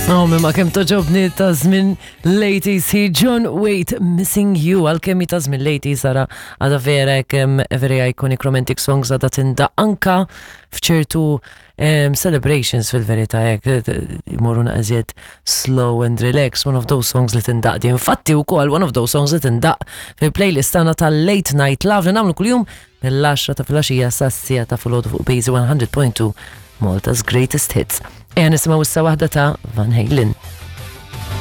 Oh, ma kemm toġobni ta' żmien l-80s hi John Waite Missing You għalkemm hi ta' żmien l-80s ara għadha vera kemm very iconic romantic songs għadha tindaq anka f'ċertu celebrations fil-verità hekk jmorru naqżiet slow and relax, one of those songs li tindaq di. Infatti wkoll one of those songs li tindaq fil-playlist tagħna tal-Late Night Love li nagħmlu kuljum mill-10 ta' filgħaxija sas-siegħa ta' filgħodu fuq Bazy 100.2 Malta's Greatest Hits. Ejja nisimgħu issa waħda ta' Van Halen.